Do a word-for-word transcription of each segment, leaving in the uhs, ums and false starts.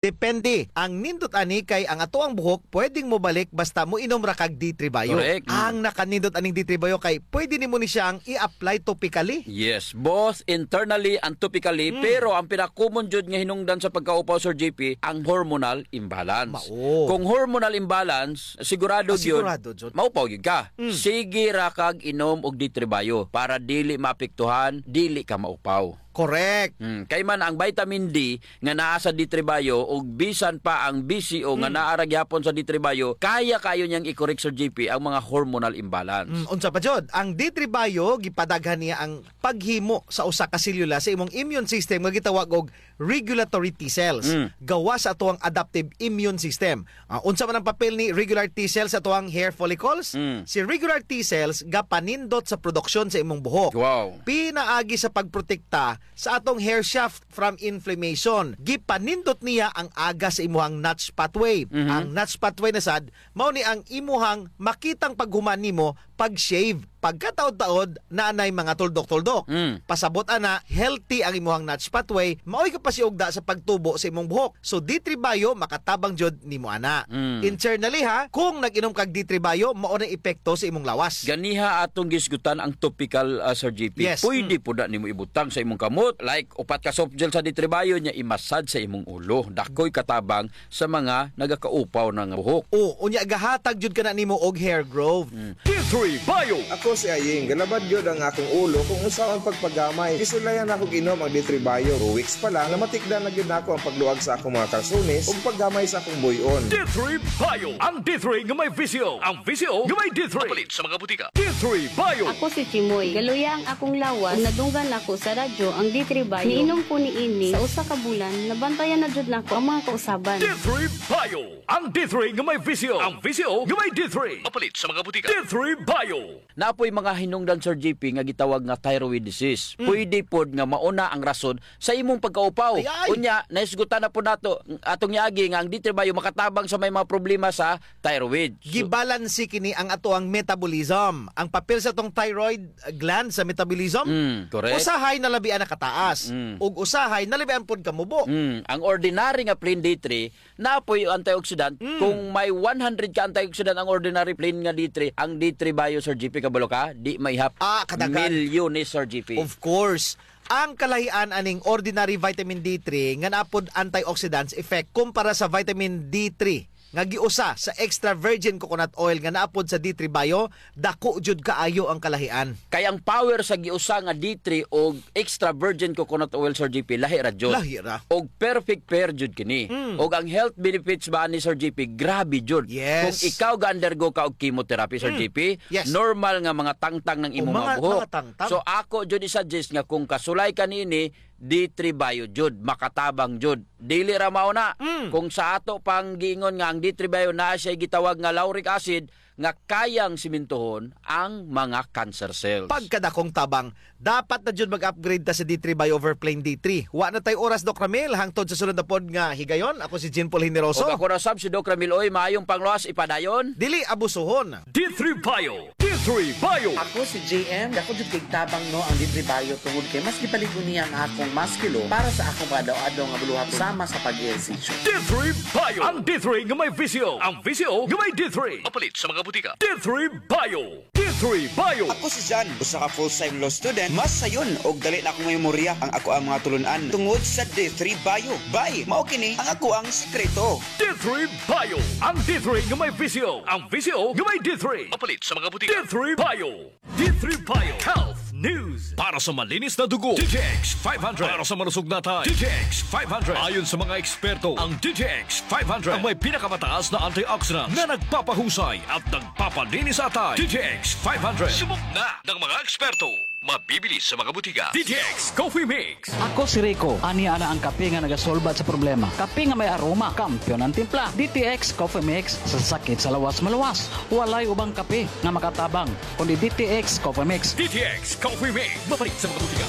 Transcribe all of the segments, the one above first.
Depende. Ang nindot ani kay ang atoang buhok pwedeng mobalik basta moinom ra kag D three Bio. Correct. Mm. Ang nakanindot aning D three Bio kay pwede nimo ni siyang i-apply topically. Yes, both internally and topically, mm, pero ang pinaka-common jud nga hinungdan sa pagkaupaw, Sir J P, ang hormonal imbalance. Mao. Kung hormonal imbalance, sigurado jud, sigurado jud, maupaw jud ka. Mm. Sige ra kag inom og D three Bio para dili maapektuhan, dili ka maupaw. Correct. Hmm, kay man ang vitamin D nga naa sa D three Bio ug bisan pa ang B C O nga, mm, naa ra gihapon sa D three Bio, kaya kayo niyang i-correct, Sir J P, ang mga hormonal imbalance. Mm, unsa pa jud? Ang D three Bio, gipadaghan niya ang paghimo sa usa ka selula sa imong immune system nga gitawag og regulatory T cells. Mm. Gawas sa atoang adaptive immune system. Ah, unsa man ang papel ni regular T cell sa atoang hair follicles? Mm. Si regular T cells gapanindot sa produksyon sa imong buhok. Wow. Pinaagi sa pagprotekta sa atong hair shaft from inflammation. Gipanindot niya ang aga sa imuhang Notch pathway. Mhm. Ang Notch pathway na sad, mao ni ang imuhang makitang paghuman nimo pag-shave. Pagkataod-taod, naa nay mga tuldok-tuldok. Mm. Pasabot ana, healthy ang imuhang Notch pathway, maoy kapasiugda sa pagtubo sa imong buhok. So, D three Bio, makatabang jud nimo ana. Mm. Internally ha, kung nag-inom kag D three Bio, mao na epekto sa imong lawas. Ganiha atong gisgutan ang topical, ah, Sir J P. Yes. Pwede, mm, pod na nimo ibutang sa imong kamot, like upat ka soft gel sa D three Bio, nya i-massage sa imong ulo. Dakoy katabang sa mga nagakaupaw na nga buhok. O, unya gahatag jud kana nimo og hair growth. Mm. D three Bio. Ako si Aying, galabad gyud ang akong ulo kung unsaon pagpagamay. Gisulayan nako og inom ang D three Bio. Two weeks pa lang, namatikdan na gyud nako ang pagluag sa akong mga kalsones ug paggamay sa akong buy-on. D three Bio. Ang D three nga may V C O. Ang V C O nga may D three. Mapalit sa mga butika. D three Bio. Ako si Chimoy. Galuya ang akong lawas. Ug nadunggan ako sa radyo ang D three Bio. Niinom ko niini sa usa ka bulan, nabantayan na jud nako ang mga kausaban. D three Bio. Ang D three nga may V C O. Ang V C O nga may D three. Mapalit sa mga butika. D three Bio. Naa poy mga hinungdan, Sir J P, nga gitawag nga thyroid disease. Mm. Pwede pod nga mao na ang rason sa imong pagkaupaw. Ay, ay. Unya, nahisgutan na pod nato atong yaagi nga ang D three Bio makatabang sa may mga problema sa thyroid. So, gibalanse kini ang atoang metabolism. Ang papel sa atong thyroid gland sa metabolism, mm, correct, usahay nalabian na kataas. Mm. Ug usahay nalabian pod kamubo. Mm. Ang ordinary nga plain D three, naa poy antioxidant. Mm. Kung may one hundred ka antioxidant ang ordinary plain nga D three, ang D three Bio, Sir G P, kabalo ka, di maihap. Ah, kadaghan. Milyones, Sir G P. Of course. Ang kalahian aning ordinary vitamin D three nga naa pod antioxidants effect kumpara sa vitamin D three nga giusa sa extra virgin coconut oil nga naa pod sa D three Bio, dako jud kaayo ang kalahian. Kay ang power sa giusa nga D three ug extra virgin coconut oil, Sir G P, lahi ra jud. Lahi ra. Og perfect pair jud kini. Mm. Og ang health benefits ba ani, Sir G P, grabe jud. Yes. Kung ikaw ga-undergo ka og chemotherapy, Sir, mm, G P, yes, normal nga mga tangtang ng imo, o, mga, mga buhok, mga tangtang. So, ako jud i-suggest nga kung kasulay ka niini, D three Bio jud, makatabang jud. Dili ra mao na. Mm. Kung sa ato pang giingon nga ang D three Bio naa siya gitawag nga lauric acid, nga kayang simintuhon ang mga cancer cells. Pagkadakong tabang, dapat na jud mag-upgrade ta sa D three Bio over plain D three. Wa na tay oras, Doc Ramil, hangtod sa sunod na pod nga higayon. Ako si Jean Paul Generoso. Ug ako na sab si Doc Ramil. Oy, maayong pangluwas, ipadayon. Dili abusuhon. D three Bio. D three Bio. Ako si J M. Dako jud kay tabang, no, ang D three Bio tungod kay mas gipalig-on niya ang akong musculo para sa akong pag-adlaw-adlaw nga buluhaton sama sa pag-ehersisyo. D three Bio. Ang D three nga may V C O. Ang V C O nga may D three. Mapalit sa mga butika. D three Bio. D three Bio. Ako si Jan, usa ka full-time law student. Mas sayon og dali na akong memorya ang akoang mga tulun-an tungod sa D three Bio. Bay, mao kini ang akoang sikreto. D three Bio. Ang D three nga may V C O. Ang V C O nga may D three. Mapalit sa mga butika. D three Bio. D three Bio Health News. Para sa malinis na dugo, D T X five hundred. Para sa malusog na atay, D T X five hundred. Ayon sa mga eksperto, ang D T X five hundred ang may pinakamataas na antioxidant na nagpapahusay at nagpapalinis sa atay. D T X five hundred. Subok na ng mga eksperto. Mabibili sa mga butika. D T X Coffee Mix. Ako si Rico. Ania na ang kape nga nagasolbat sa problema. Kape nga may aroma, kampiyon ang timpla. D T X Coffee Mix, sa sakit sa lawas maluwas. Walay ubang kape nga makatabang kundi D T X Coffee Mix. D T X Coffee Mix. Mapalit sa mga butika.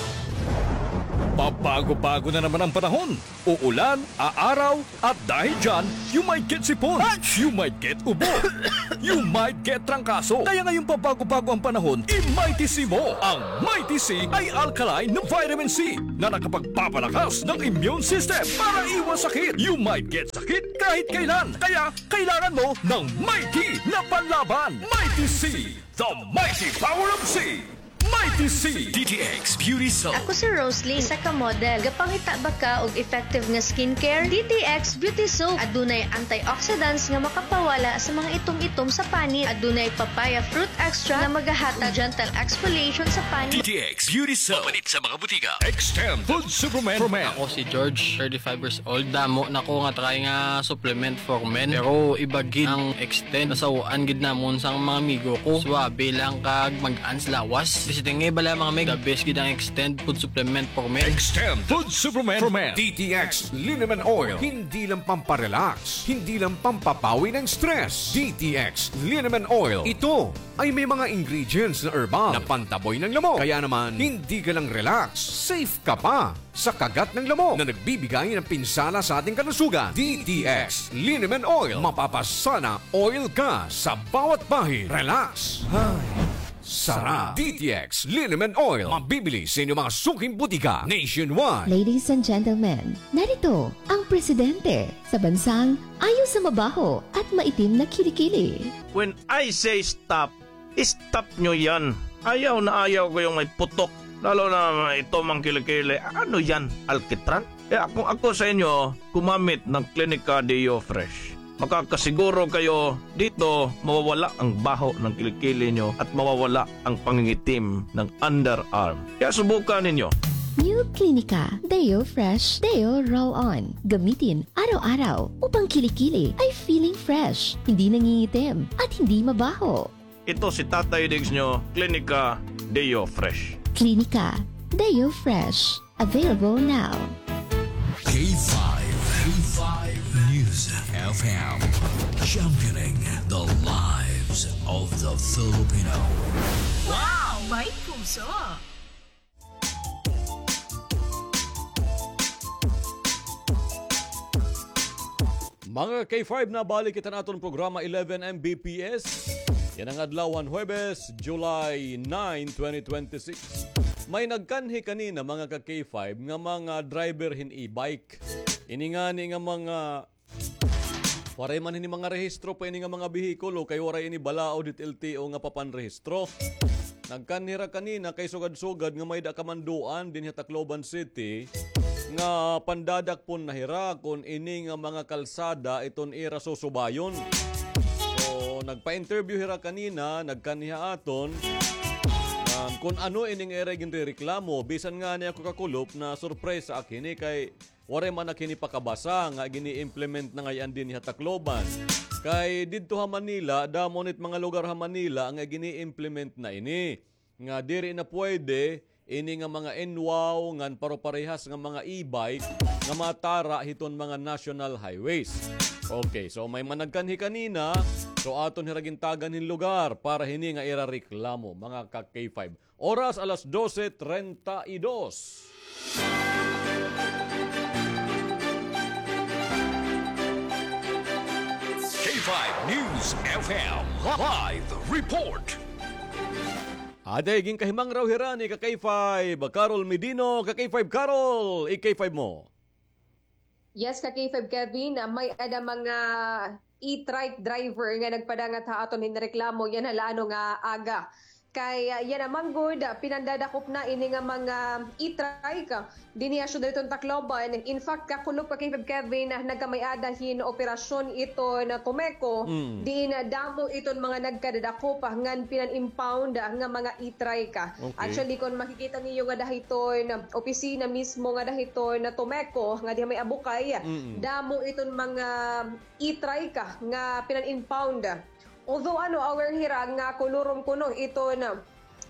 Pabago-bago na naman ang panahon. Uulan, aaraw, at dahil dyan, you might get sipon, you might get ubo, you might get trangkaso. Kaya ngayong pabago-bago ang panahon, i-Mighty C mo. Ang Mighty C ay alkaline na vitamin C na nakapagpapalakas ng immune system para iwas sakit. You might get sakit kahit kailan. Kaya kailangan mo ng Mighty na panlaban. Mighty C, the mighty power of C. Mighty C. D T X Beauty Soap. Ako si Roslyn, isa ka model. Gapangita ba ka og effective nga skincare? D T X Beauty Soap. Adunay antioxidants nga makapawala sa mga itom-itom sa panit. Adunay papaya fruit extract nga magahatag gentle exfoliation sa panit. D T X Beauty Soap. Mapalit sa mga butika. Extend Food Supplement for Men. Ako si George, thirty-five years old. Damo na ko nga try nga supplement for men. Pero iba gid ang Extend. Nasaw-an gid namon sang mga amigo ko. Suabe lang kag mag-ans lawas. Bisi tingay bala, mga mig. The best gid ang Extend food supplement for men. Extend Food Supplement for Men. D T X Liniment Oil. Hindi lang pamparelax, hindi lang pampapawi ng stress. D T X Liniment Oil. Ito ay may mga ingredients na herbal na pantaboy ng lamok. Kaya naman, hindi ka lang relax, safe ka pa sa kagat ng lamok na nagbibigay ng pinsala sa ating kalusugan. D T X Liniment Oil. Mapapasana oil ka sa bawat bahid. Relax. Ay, sarap. D T X Liniment Oil. Mabibili sa inyong mga suking butika nationwide. Ladies and gentlemen, narito ang presidente sa bansang ayaw sa mabaho at maitim na kilikili. When I say stop, stop nyo yan. Ayaw na ayaw ko yung may putok. Lalo na ito mang kilikili. Ano yan? Alkitran? Kaya kung ako sa inyo, gumamit ng Clinica Deo Fresh. Makakasiguro kayo dito mawawala ang baho ng kilikili nyo at mawawala ang pangingitim ng underarm. Kaya subukan ninyo. New Clinica Deo Fresh Deo Roll On. Gamitin araw-araw upang kilikili ay feeling fresh, hindi nangingitim, at hindi mabaho. Ito si Tatay Diggs nyo, Klinika Deo Fresh. Klinika Deo Fresh. Available now. K five, K five News F M, championing the lives of the Filipino. Wow! May puso! Mga K five, nabalik kita han aton programa eleven M B P S. Yana nga adlaw han Huwebes, July nine, twenty twenty-six. May nagkanhi kanina, mga ka K five, nga mga driver hin e-bike. Ini ngani nga mga Waray man hini mga rehistro pa ini nga mga behikulo kay waray ini balaod hit L T O nga papanrehistro. Nagkanhi hira kanina kay sugad-sugad nga may-ada kamanduan dinhi ha Tacloban City nga pandadakpon na hira kon ini nga mga kalsada iton ira susubayon. So, nagpa-interview hira kanina, nagkanhi ha aton, um, kon ano ining ira ginrereklamo. Bisan ngani ako kakulop, nasurpresa ak hini kay waray man ak hini pakabasa nga gini-implement na ngay-an dinhi ha Tacloban. Kay didto ha Manila, damo nit mga lugar ha Manila nga gini-implement na ini. Nga diri na pwede ini nga mga N wow ngan paroparehas nga mga e-bike nga matara hiton mga national highways. Okay, so may man nagkanhi kanina, so aton hira gintagan hin lugar para hini nga ira reklamo, mga ka K five. Oras, alas dose treinta y dos. K five News F M live report. Adi, ginkahimangraw hira ni ka K five Carol Medino. Ka K five Carol, i-K five mo. Yes, ka K five Kevin, ah, may-ada mga e-trike driver nga nagpadangat ha aton hin reklamo yana ha la ano nga aga. Kay, ah, yana man gud, ah, pinandadakop na ini nga mga e-trike, ah, dinhi ha syudad hiton Tacloban. In fact, kakulop ka K five Kevin, ah, nagkamay-ada hin operasyon iton, ah, Tomeco, diin, ah, damo iton mga nagkadadakop, ah, ngan pinan-impound, ah, nga mga e-trike, ah. Okay. Actually, kon makikita niyo nga dahiton, ah, opisina mismo nga dahiton, ah, Tomeco, nga diha may Abukay, damo iton mga e-trike, ah, nga pinan-impound. Although, ano, aware hira nga kolorom kuno iton,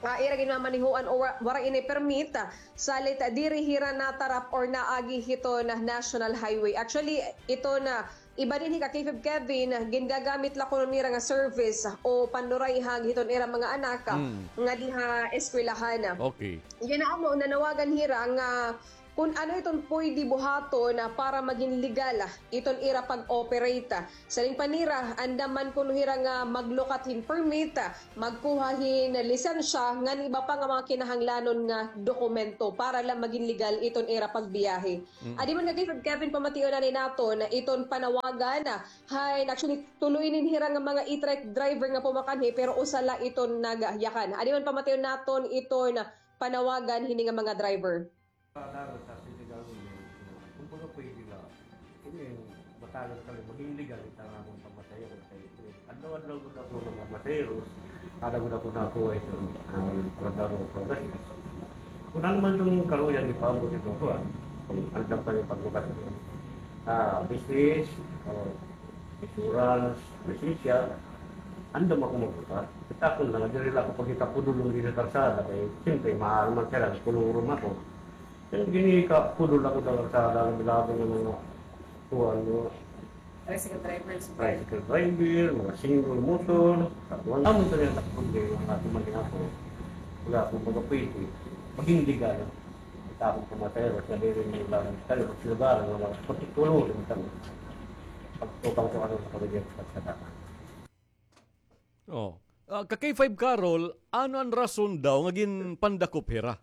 ah, ira ginmamanehoan o wa-, waray ini permit, ah, salit, ah, diri hira natarap or naagi hiton, ah, national highway. Actually, iton, ah, iba dinhi ka K five Kevin, ah, gingagamit la kuno nira nga service, ah, o pandurayhag hiton ira mga anak, ah, nga diha eskwelahan, ah. Okay. Yana, ano, nanawagan hira nga kun ano iton pwede buhaton, ah, para magin legal, ah, iton ira pag-operate. Siring pa nira, andam man kuno hira nga maglukat hin permit, ah, magkuha hin lisensya, ngan iba pa nga mga kinahanglanon nga dokumento para la magin legal iton ira pagbiyahe. Mm. Adi man nga kay Kevin, pamation anay naton iton panawagan, ah, hay, actually, tulo ini hira nga mga e-trike driver nga pumakanhi, pero usa la iton nagyakan. Adi man pamation naton iton panawagan hini nga mga driver. Dapat sa city government, kumbaga pwede na. Kung yung batalan kami, maging legal, ito nga akong pamasahero. Kay adlaw-adlaw gud ako nga mamasahero. Ada gud ako nakuha ito, ang trabaho ko. Kung ano man itong karuyan, ipaabot ito ko, ah. Kung andam pa yung pagbukas. Ah, business, oh, insurance, lisensya, andam ako magbukas. Kita ko lang, diri lang ako pagkita pudulong dito sa kalsada, kay siyempre, maaram man sila, kulurong ako. Kaya ginikapudol ako sa kalsada, ang bilabong ng mga kuwan, no? Tricycle driver, mga single motor, sa kuwan. Amo ito yung problema nga tumaling ako. Wala akong mga pwede. Maging legal. Kita akong pumatero sa diri ng ilang tayo, sa lugar, ng mga particular, ng tayo. Pagtubang ko ano sa pamilya sa kalsada. Oh. Ah, ka K five Carol, ano an rason daw nga ginpandakop hira?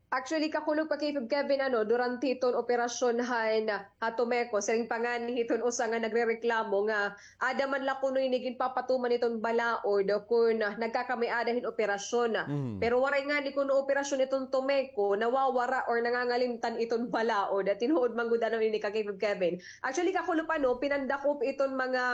Actually, kakulop ka K five Kevin, ano, durante iton operasyon han ha Tomeco, siring pa ngani hiton usa nga nagrereklamo nga ada man la kuno ini ginpapatuman iton balaod kun nagkakamay-ada hin operasyon. Mm. Pero waray ngani kuno operasyon iton Tomeco, nawawara or nangangalimtan iton balaod. Tinuod man gud ano ini ka K five Kevin. Actually, kakulop, ano, pinandakop iton mga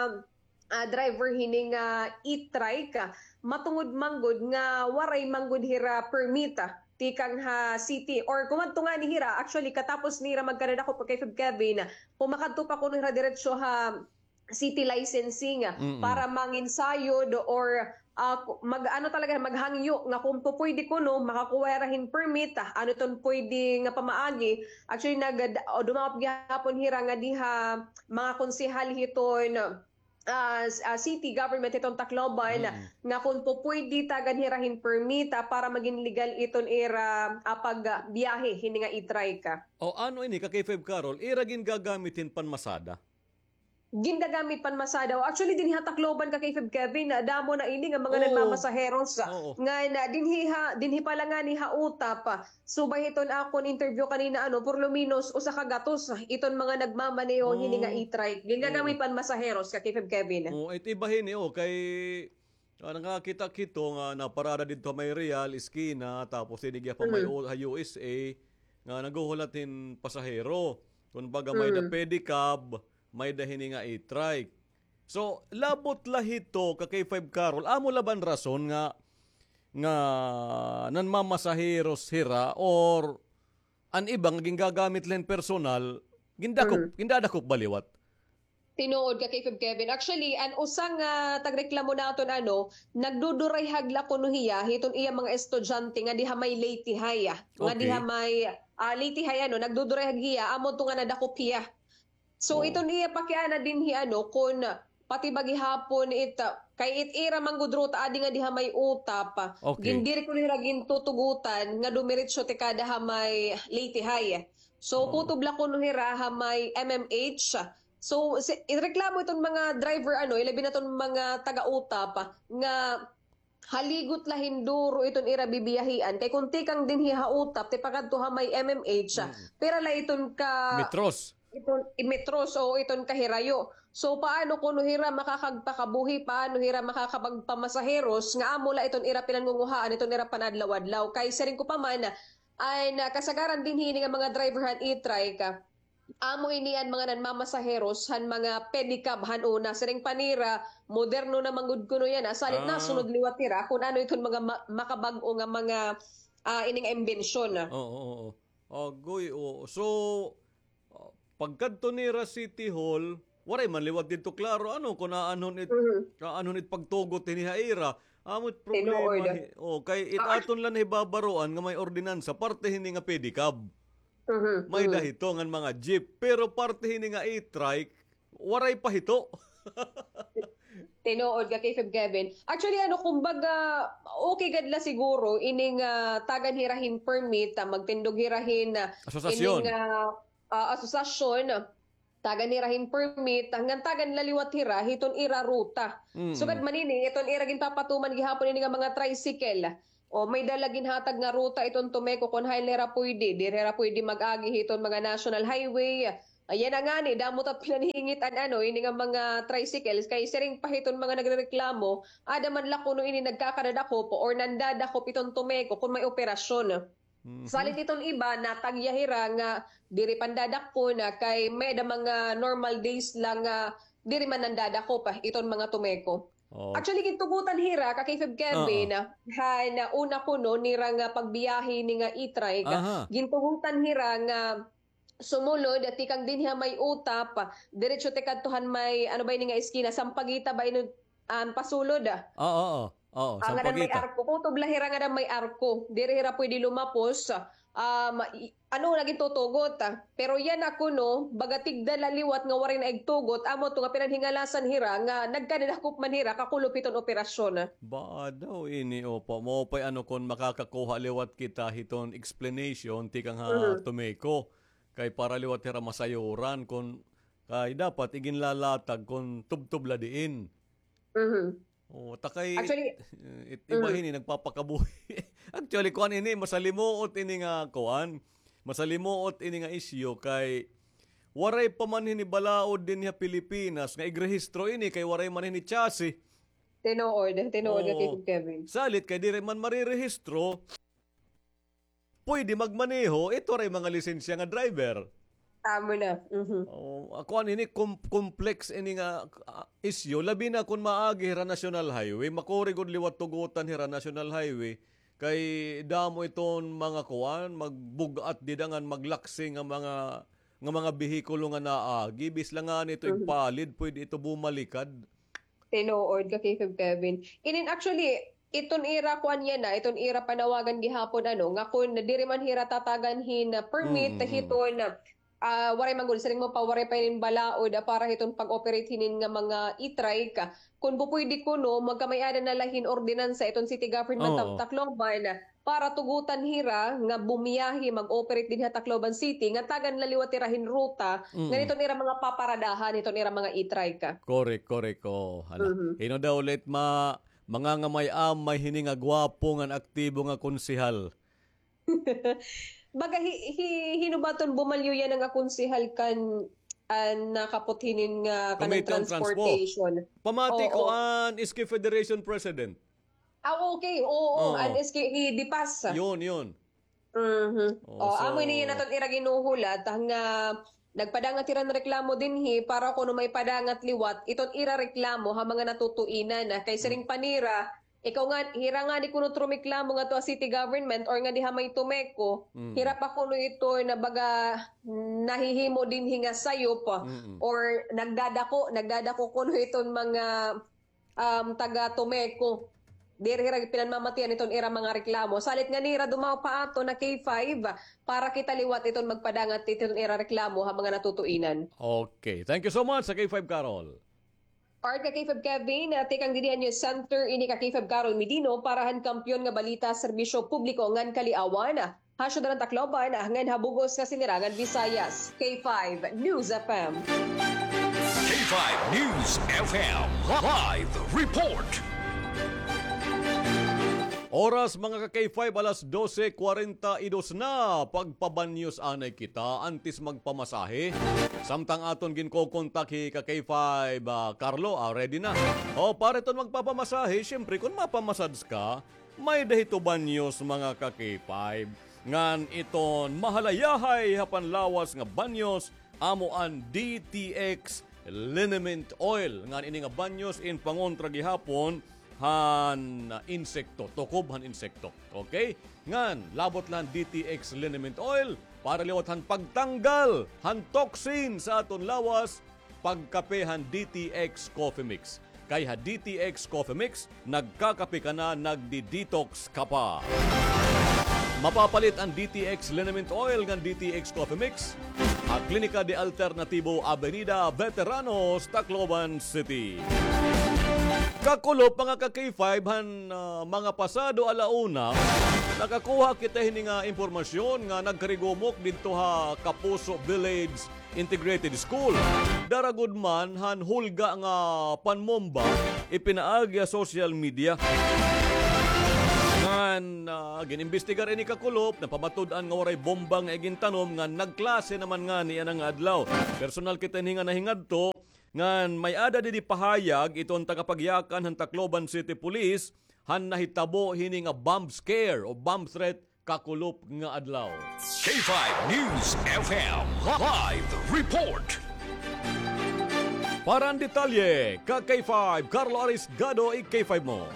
ah, driver hini nga e-trike, ah, matungod man gud nga waray man gud hira permit, ah, tikang ha city or kumadto ngani hira, actually, katapos nira magkadadakop ka K five Kevin, pumakadto pa kuno hira diretso ha city licensing, ah, mm-mm, para manginsayod or, ah, ku-, mag-, ano talaga, maghangyo nga kung pupwede kuno, makakuha hira hin permit, ah, ano iton pwede nga pamaagi. Actually, nag-, o, dumangop gihapon hira ngadi ha mga konsehal hiton ah, s-, ah, city government hiton Tacloban, mm, nga kun pupwede tagan hira hin permit, ah, para magin legal iton ira, ah, pagbiyahe hini nga e-trike. O, ano ini ka K five Carol, ira gingagamit hin panmasada? Gingagamit panmasada. O, actually, dinhi ha Tacloban ka K five Kevin, ah, damo na ini nga mga, oo, nagmamasaheros, ah, oo, nga na, dinhi ha, dinhi pa la ngani ha Utap, ah, subay hiton akon interview kanina, ano, por lo menos usa ka gatos iton mga nagmamaneho hini nga, oh, e-trike. Gingagamit, oo, panmasaheros ka K five Kevin. Oh, it iba hini, oh, kay, ah, nakakita kito nga naparada didto ha may Real, eskina, tapos hini gihap ha may, mm, o-, ha U S A, nga naghuhulat hin pasahero. Kumbaga, may da, mm, pedicab, may da hini nga e-trike. So, labot la hito ka K five Carol, amo la ba an rason nga, nga nanmamasaheros hira or an iba nga gingagamit la hin personal, gindakop, mm, gindadakop ba liwat? Tinuod ka, K five Kevin. Actually, an usa nga tagreklamo naton, ano, nagdudurayhag la kuno hiya hiton iya mga estudyante nga diha may Leyte High, ah. Nga diha, okay, may, ah, Leyte High, ano, nagdudurayhag hiya, amo to nga nadakop hiya. So, oh, iton iya pakiana dinhi, ano, kun pati ba gihapon it, ah, kay it ira man gud ruta adi nga diha may Utap, okay, gindiri kuno hira gintutugutan nga dumiretso tikada ha may Leyte High. So, oh, kutob la kuno hira ha may M M H. So, si, reklamo iton mga driver, ano, ilabi na iton mga taga-Utap, nga haligot la hin duro iton ira bibiyahian. Kay kun tikang dinhi ha Utap, tipakadto ha may M M H, mm, pira la iton ka metros. Iton, i-, metros o iton kahirayo. So, paano kuno hira makakagpakabuhi, paano hira makakapagpamasaheros, nga amo la iton ira pinangunguhaan, iton ira panadlaw-adlaw? Kay siring ko pa man, an kasagaran dinhi ini nga mga driver han e-trike, amo ini an mga nanmamasaheros han mga pedicab han una. Siring pa nira, moderno na man gud kuno yana. Salit, ah, nasunod liwat nira kun ano iton mga ma-, makabag-o nga mga, ah, ini nga imbensyon. Oo, oo, oo. Agoy, oo. So, ah, pagkadto nira City Hall, waray man liwat didto klaro, ano, kun aanhon it, mhm, aanhon it pagtugot hini ha ira. Amo it problema. Tinuod. Hi-, oh, kay it, ah, aton la nahibabaroan nga may ordinansa, parte hini nga pedicab. Mhm, may, mhm, da hito ngan mga jeep, pero parte hini nga e-trike, waray pa hito. Tinuod ka, K five Kevin. Actually, ano, kumbaga, okay gad la siguro ining, ah, tagan hira hin permit, ah, magtindog hira hin, ah, Asosasyon. ining, ah, ah, asosasyon, tagan hira hin permit, ah, ngan tagan la liwat hira hiton ira ruta. Mm. Sugad man ini, iton ira ginpapatuman gihapon ini nga mga tricycle. O, may dala ginhatag nga ruta iton Tomeco kon hain la hira puyde, diri hira puyde mag-agi hiton mga national highway. Ayan na ngani, damo ta it pinanhingit-an, ano, ini nga mga tricycles, kay siring pa hiton mga nagrereklamo, ada man la kuno ini nagkakadadakop or nandadakop iton Tomeco kon may operasyon. Mhm. Salit iton iba, natagya hira nga diri pandadakpon, ah, kay may-ada mga normal days la nga diri man nandadakop, ah, iton mga Tomeco. Oh. Actually, gintugotan hira, ka K five Kevin, Oo. ah, han una kuno nira nga pagbiyahe ini nga e-trike, Aha. gintugotan hira nga sumulod, tikang dinhi ha may utap, diretso tikadto han may, ano ba ini nga eskina, Sampaguita ba ini, um, pasulod, ah? Oo, oo. Oo, Ah, ngaran may Sampaguita. arko. Kutob la hira ngaran may arko. Diri hira pwede lumapos. Um, i-, ano, naging tutugot, ah. Pero yana kuno, baga tigda la liwat nga waray na igtugot, amo to nga pinanhingalasan hira nga nagkadadakop man hira kakulop hiton operasyon, ah. Ba daw ini, opo. Maupay ano kon makakakuha liwat kita hiton explanation tikang ha Mhm. Tomeco. Kay para liwat hira masayuran kon kay dapat iginlalatag kon tubtob la diin. Mhm. Oh, ta kay Actually, it, iba mm. hini nagpapakabuhi. Actually, kuan ini, masalimuot ini nga kuan. Masalimuot ini nga isyu kay waray pa man hini balaod dinhi ha Pilipinas nga igrehistro ini kay waray man hini chassis. Tinuod, tinuod nga Oo. Tito Kevin. Salit kay diri man marirehistro, pwede magmaneho, ito ray mga lisensya nga driver. Tama na. Mhm. Oh, ako an ini com-, complex ini nga, ah, isyu, labi na kon maagi hira National Highway, makuri gud liwat tugutan hira National Highway, kay damo iton mga kuan, magbug-at dida ngan maglaksi nga mga, nga mga behikulo nga naagi, bis la ngani ito Mhm. igpalid, pwede ito bumalikad. Tinuod ka, K five Kevin. Inin actually, iton ira kuan yana, iton ira panawagan gihapon, ano, nga kun diri man hira tatagan hin, ah, permit, Mm, mm. hiton, ah, waray man gud, siring mo pa, waray pa hinin balaod, ah, para hiton pag-operate hinin nga mga e-trike, ah, kun bu pwede kuno, magkamay-ada na la hin ordinansa iton city government of Oo. Tacloban, ah, para tugutan hira nga bumiyahe, mag-operate dinhi ha Tacloban City, nga tagan la liwat hira hin ruta, Mm. nga niton ira mga paparadahan, niton ira mga e-trike. Correct, correct. Oh, hala. Mhm. Hino daw ulit ma-, mangangamay-amay hini nga gwapo ngan aktibo nga konsehal? Baga hi-, hi-, hino ba ton bumalyo yana nga konsehal kan, ah, nakapot hinin nga kanan Committee on Transpo. Transportation? Pamati ko Oo. an S K Federation President. Ah, okay. Oo, Oo. an S K, hi Dipas. Yun, yun. Mhm. Oo, Oh, so amo ini yana ton ira ginuhulat, ah, nga nagpadangat hira hin reklamo dinhi para kuno maipadangat liwat iton ira reklamo ha mga natutuinan, ah, kay siring Mm. pa nira, ikaw nga, hira ngani kuno it rumeklamo ngadto ha city government or ngadi ha may Tomeco, Mm. hira pa kuno ito na baga nahihimo dinhi nga sayop, ah, Mm-mm. or nagdadako, nagdadako kuno iton mga um, taga Tomeco. Diri hira pinanmamatian iton ira mga reklamo. Salit nga nira dumaw pa ato na K five para kita liwat iton magpadangat iton ira reklamo ha mga natutuinan. Okay. Thank you so much sa K five Carol. Part ka K five Kevin, ah, tikang dinhi ha News Center, ini ka K five Carol Medino para han Kampiyon nga Balita, Serbisyo Publiko ngan Kaliawan. Ha syudad han Tacloban, ngan ha bug-os nga Sinirangan Visayas. K five News F M. K five News F M Live Report. Oras, mga ka K five, alas dose kwarenta y dos na. Pagpabanyos anay kita antes magpamasahe. Samtang aton ginkokontak hi ka K five, ah, Carlo, ah, ready na. O, para iton magpapamasahe, syempre, kon mapamasads ka, may-ada hito banyos, mga ka K five. Ngan iton mahalayahay ha panlawas nga banyos, amo an D T X liniment oil. Ngan ini nga banyos in pangontra gihapon han insekto, tukob han insekto. Okay? Ngan, labot la han D T X liniment oil, para liwat han pagtanggal han toxin sa aton lawas, pagkape han D T X Coffee Mix. Kay ha D T X Coffee Mix, nagkakape ka na, nagdi-detox ka pa. Mapapalit an D T X Liniment Oil ngan D T X Coffee Mix ha Klinika de Alternatibo, Avenida Veteranos, Tacloban City. Kakulop, mga ka-K five, han, ah, mga pasado ala una, nakakuha kita hini nga impormasyon nga nagkarigumok didto ha Kapuso Village Integrated School. Dara gud man han hulga nga panmomba ipinaagi ha social media. Ngan, ah, gin-imbestigar ini, kakulop, napamatud-an nga waray bomba nga igintanom ngan nagklase naman ngani yana nga adlaw. Personal kita hini nga nahingadto, ngan may-ada didi pahayag iton tagapagyakan han Tacloban City Police han nahitabo hini nga bomb scare o bomb threat kakulop nga adlaw. K five News F M Live Report. Para han detalye, ka-K five, Carlo Arisgado, i-K five mo.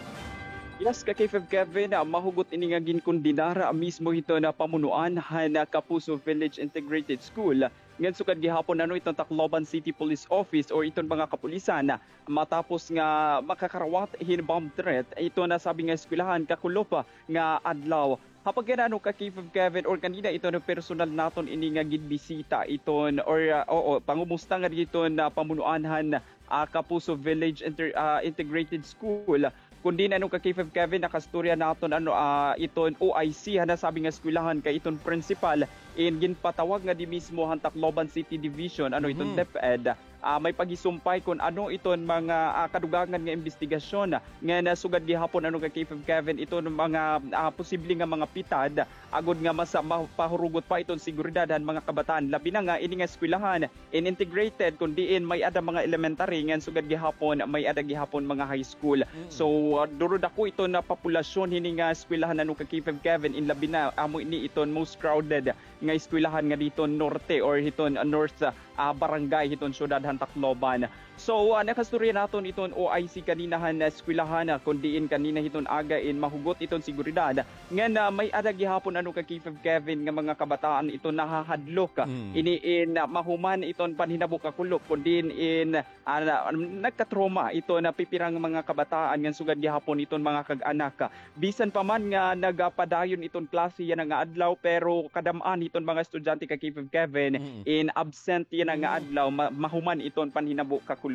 Yes, ka-K five Kevin, ah, mahugot ini nga ginkondenar mismo hiton pamunuan han, ah, Kapuso Village Integrated School. Ngan sugad gihapon, ano, iton Tacloban City Police Office or iton mga kapulisan, matapos nga makakarawat hin bomb threat iton nasabi nga eskwelahan kakulop nga adlaw. Ha pagkadto, ano, ka-K five Kevin, or kanina iton personal naton ini nga ginbisita iton, or, ah, oo, pangumusta nga didto ha pamunuan han, ah, Kapuso Village Inter-, ah, Integrated School. Kundi, ano, ka-K five Kevin, nakaistorya naton, ano, ah, iton O I C han nasabi nga eskwelahan kay iton principal in ginpatawag ngadi mismo han Tacloban City Division, ano, iton DepEd. Ah, may paghisumpay kon ano iton mga, ah, kadugangan nga imbestigasyon ngan sugad gihapon, ano, ka-K five Kevin, iton mga, ah, posible nga mga pitad agod nga mas, ah, mapahurugot pa iton seguridad han mga kabataan, labi na nga ini nga eskwelahan in integrated, kon diin may-ada mga elementary ngan sugad gihapon may-ada gihapon mga high school. So, ah, duro dako iton populasyon hini nga eskwelahan, ano, ka-K five Kevin, in labi na amo ini iton most crowded nga eskwelahan ngadi hiton norte or hiton, ah, north, ah, barangay hiton syudad han Tacloban. So, ah, nakaistorya naton iton O I C kanina han eskwelahan, ah, kon diin kanina hiton aga in mahugot iton seguridad ngan, ah, may-ada gihapon, ano, ka-K five Kevin, nga mga kabataan iton nahahadlok, ah, ini in, ah, mahuman iton panhinabo kakulop, kon diin in, ah, na-, nagkatrauma iton pipira nga mga kabataan ngan sugad gihapon iton mga kag-anak. Bisan pa man nga nagapadayon iton klase yana nga adlaw, pero kadam-an hiton mga estudyante, ka-K five Kevin, in absent yana nga adlaw, ma-, mahuman iton panhinabo kakulop.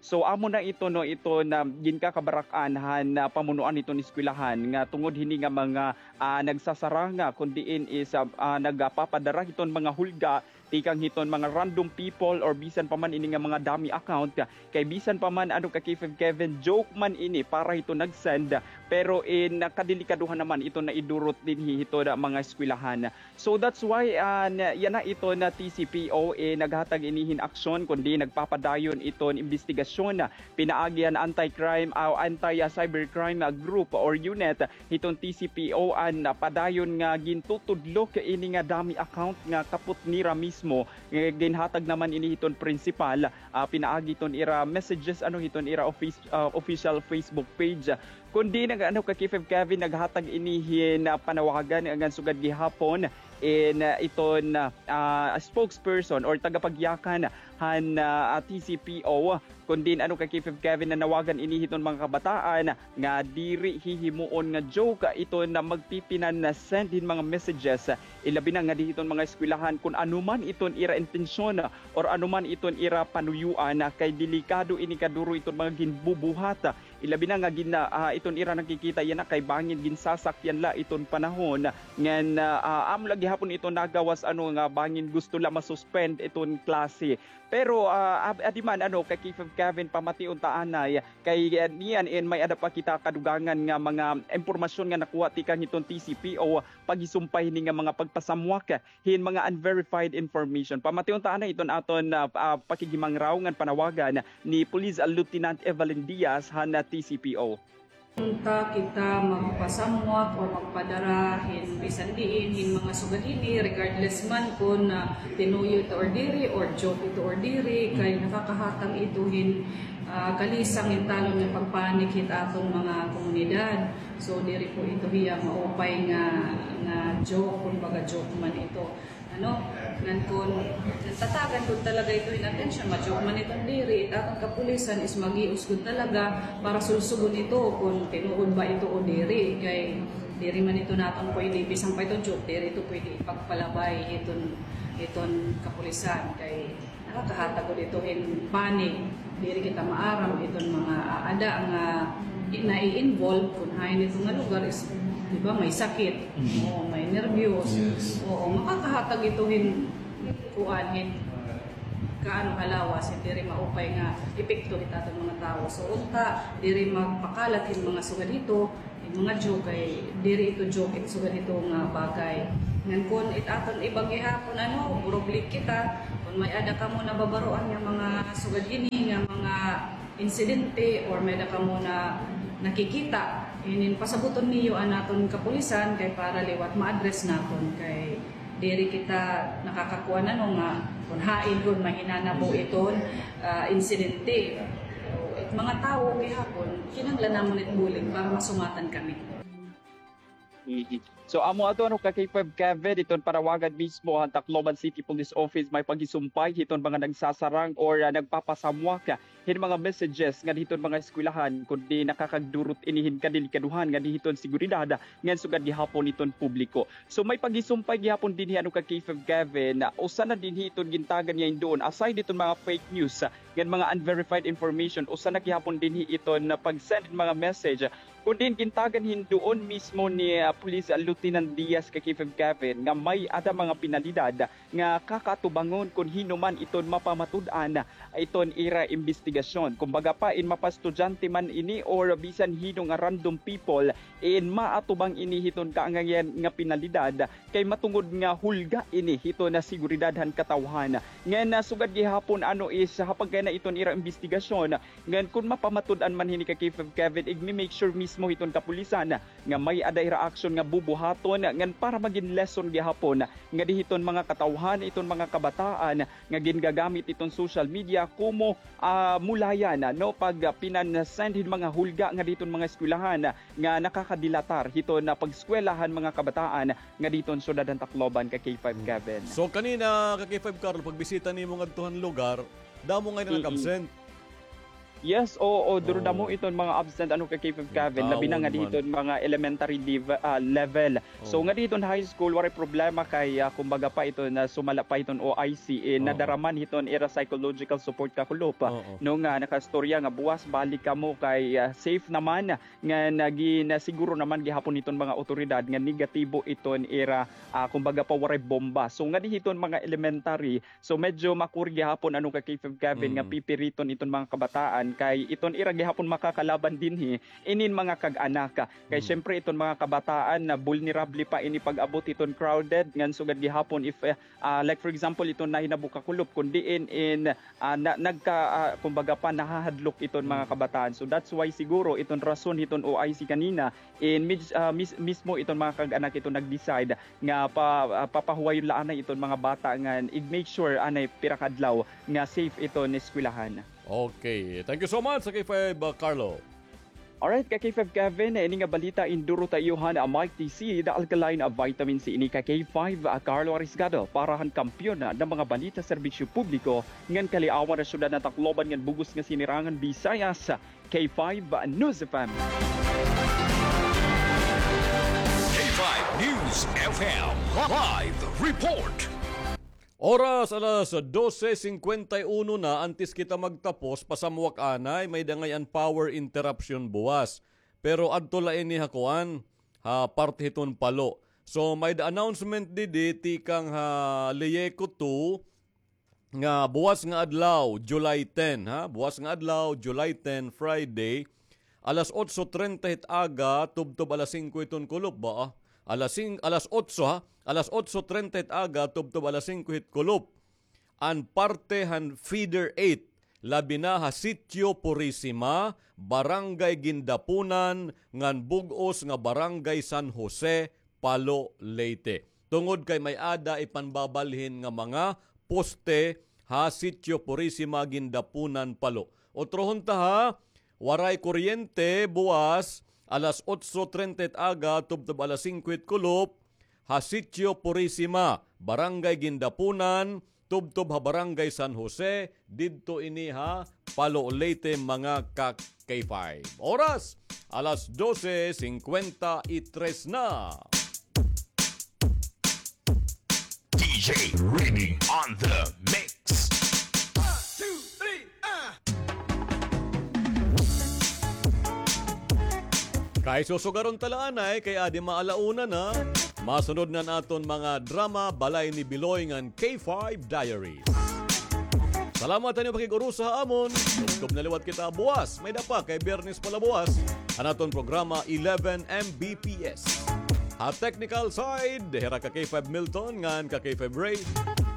So, amo na ito, no, ito na ginkakabarak-an han, ah, pamunuan hiton eskwelahan nga tungod hini nga mga, ah, nagsasaranga, kon diin is, ah, ah, nagapapadara hiton mga hulga tikang hiton mga random people or bisan pa man ini nga mga dummy account. Kay bisan pa man, ano, ka-K five Kevin, joke man ini para hiton nag-send, pero in, ah, kadelikadohan naman iton naidurot dinhi hiton mga eskwelahan. So that's why, ah, na, yana iton T C P O, eh, naghatag ini hin aksyon, kundi nagpapadayon iton imbestigasyon pinaagi han anti-crime, ah, anti, ah, cybercrime, ah, group or unit hiton T C P O an, ah, padayon nga gintutudlok ini nga dummy account nga kapot nira mismo, nga ginhatag naman ini hiton principal, ah, pinaagi hiton ira messages, ano, hiton ira office, ah, official Facebook page. Kundi nag-, ano, ka-K five Kevin, naghatag ini hin, ah, panawagan ngan sugad gihapon in, ah, iton, ah, spokesperson or tagapagyakan han, ah, T C P O. Kundi, ano, ka-K five Kevin, nanawagan ini hiton mga kabataan nga diri hihimuon nga joke iton magpipinan-send hin mga messages, ilabi na ngadi hiton mga eskwelahan, kon ano man iton ira intensyon or ano man iton ira panuyuan, kay delikado ini, kaduro iton mga ginbubuhat. Ilabi na nga gin-, ah, iton ira nakikita yana kay bangin ginsasakyan la iton panahon ngan, ah, ah, amo la gihapon iton nagawas, ano, nga bangin gusto la ma-suspend iton klase. Pero, ah, ab-, adi man, ano, ka-K five Kevin, pamation ta anay kay, ah, niyan in may-ada pa kita kadugangan nga mga impormasyon nga nakuha tikang hiton T C P O paghisumpay hini nga mga pagpasamwak hin mga unverified information. Pamation ta anay iton aton, ah, ah, pakighimangraw ngan panawagan ni Police Lieutenant Evelyn Diaz han, ah, T C P O. Unta kita magpasamwak o magpadara hin bisan diin hin mga sugad hini, regardless man kon, ah, tinuyo ito or diri, or joke ito or diri, kay nakakahatag ito hin, ah, kalisang hin talon nga pagpanik hit aton mga komunidad. So, diri po ito hiya maupay nga, nga joke, kumbaga joke man ito. Ano, ngan kon tatagan gud talaga ito hin atensyon, ma-joke man iton diri, it aton kapulisan is mag-ius gud talaga para sulsugon ito kon tinuod ba ito o diri. Kay diri man ito naton pwede, bisan pa ito joke, diri ito pwede ipagpalabay iton, iton kapulisan. Kay nakakahatag gud ito hin panic. Diri kita maaram iton mga aada nga nai-involve kun hain ito nga lugar is, di ba, may sakit, oo, may nerbyos. Oo, makakahatag ito hin kuan, hin kaano ha lawas, hin diri maupay nga epekto hit aton mga tawo. So unta diri magpakalat hin mga sugad hito, hin mga joke, kay diri ito joke, it sugad hito nga bagay. Ngan kun it aton iba gihapon, ano, probably kita, kun may-ada kamo nababaroan nga mga sugad hini nga mga insidente or may-ada kamo na nakikita, inin pasabuton niyo an aton kapulisan kay para liwat ma-address naton kay diri kita nakakakuan, ano, nga kun hain kun mahinanabo iton, ah, insidente. So, it mga tawo gihapon, kinahanglan namon it bulig para masumatan kami. So, amo adto, ano, ka K five Kevin, iton panawagan mismo han Tacloban City Police Office may paghisumpay hiton mga nagsasarang or, ah, nagpapasamwak hin mga messages ngadto hiton mga eskwelahan, kundi nakakagdurot ini hin kadelikadohan ngadto hiton seguridad ngan sugad gihapon hiton publiko. So, may paghisumpay gihapon dinhi, ano, ka K five Kevin, ah, usa na dinhi iton gintagan nga hinduon, aside hiton mga fake news, ah, ngan mga unverified information, usa na gihapon dinhi iton, ah, pag-send mga message. Kun diin gintagan hinduon mismo ni, ah, Police Lieutenant Diaz ka K five Kevin nga may-ada mga penalidad nga kakaatubangon kun hin-o man iton mapamatud-an iton ira imbestigasyon. Kumbaga pa, in mapaestudyante man ini or bisan hin-o nga random people, in maatubang ini hiton kaangayhan nga penalidad kay matungod nga hulga ini hiton seguridad han katawhan. Ngan, ah, sugad gihapon, ano, is ha pagkaina iton ira imbestigasyon, ngan kun mapamatud-an man hini ka K five Kevin, igmi-make sure mismo hiton kapulisan nga may-ada ira aksyon nga bubuhaton ngan para magin lesson gihapon ngadi hiton mga katawhan, iton mga kabataan nga gingagamit iton social media komo, ah, mulayan, no, pag, ah, pinan-send hin mga hulga ngadi hiton mga eskwelahan nga nakakadilatar hiton, ah, pag-eskwela han mga kabataan ngadi hiton syudad han Tacloban ka K five Kevin. So kanina ka K five Carlo, pagbisita nimo ngadto han lugar, damo ngay-an nag-absent. Yes, oo, duro damo iton mga absent, ano, ka K five Kevin, labi na ngadi hiton mga elementary div-, ah, level. So ngadi hiton high school, waray problema kay, ah, kumbaga pa iton, ah, sumala pa hiton O I C, eh, nadara man hiton ira psychological support ka kulop, ah, no, nga nakaistorya nga buwas balik kamo kay, ah, safe naman, nga nagin, ah, siguro naman gihapon hiton mga awtoridad nga negatibo iton ira, ah, kumbaga pa waray bomba. So ngadi hiton mga elementary, so medyo makuri gihapon, ano, ka K five Kevin, nga pipiriton iton mga kabataan kay iton ira gihapon makakalaban dinhi inin mga kag-anak. Kay syempre iton mga kabataan na vulnerable pa ini pag-abot hiton crowded ngan sugad gihapon if, eh, ah, like for example iton nahinabo ka kulop kun diin in, ah, na, nagka, ah, kumbaga pa nahahadlok iton mga kabataan. So that's why siguro iton rason hiton O I C kanina in mis-, ah, mis-, mismo iton mga kag-anak iton nag-decide nga pa, ah, papahuwayon la anay iton mga bata ngan ig-make sure anay pira ka adlaw nga safe iton eskwelahan. Okay. Thank you so much, ka K five, ah, Carlo. Alright, ka K five Kevin, ini nga balita induro ta iyo han Mighty Seed, alkaline vitamin C ini, ka K five, ah, Carlo Arisgado, para han kampiyon nga mga balita, serbisyo publiko, ngan kaliawan han syudad han Tacloban ngan bug-os nga sinirangan Visayas. K five News F M. K five News F M live report. Oras alas dose singkwenta y uno na, antes kita magtapos, pasamwak anay, may-ada ngay-an power interruption buwas. Pero adto la ini ha kuan, ha parte hiton Palo. So, may-ada announcement didi tikang ha Leyeco two, nga buwas nga adlaw, July ten, ha? Buwas nga adlaw, July ten, Friday, alas otso treinta hit aga, tubtob alas singko hiton kulop ba, ah? Alas sing-, alas otso, ha? Alas otso treinta hit aga, tubtob alas singko hit kulop. An parte han Feeder eight, labi na ha Sitio Purisima, Barangay Gindapunan, ngan bug-os nga Barangay San Jose, Palo, Leyte. Tungod kay may-ada ipanbabalhin nga mga poste ha Sitio Purisima, Gindapunan, Palo. Utrohon ta ha, waray kuryente buwas alas otso treinta hit aga tubtob alas singko hit kulop ha Sitio Purisima, Barangay Gindapunan, tubtob ha Barangay San Jose, didto ini ha Palo, Leyte, mga ka K five. Oras, alas dose singkwenta y tres na. D J Reading on the mix. One, two, three, ah! Ay susugaron ta la anay kay adi maalauna na. Masunod na an aton mga drama, Balay ni Biloy ngan K five Diaries. Salamat han iyo pakig-urusa ha amon. Tubtob na liwat kita buwas. May-ada pa kay Biyernes pa la buwas an aton programa eleven M B P S. Ha technical side, hira ka K five Milton ngan ka K five Ray.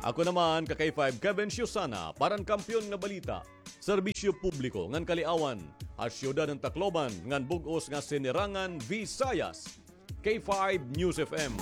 Ako naman ka K five Kevin Siusana para han Kampiyon nga Balita, Serbisyo Publiko ngan Kaliawan ha siyudad han Tacloban ngan bug-os nga Sinirangan Visayas, K five News F M.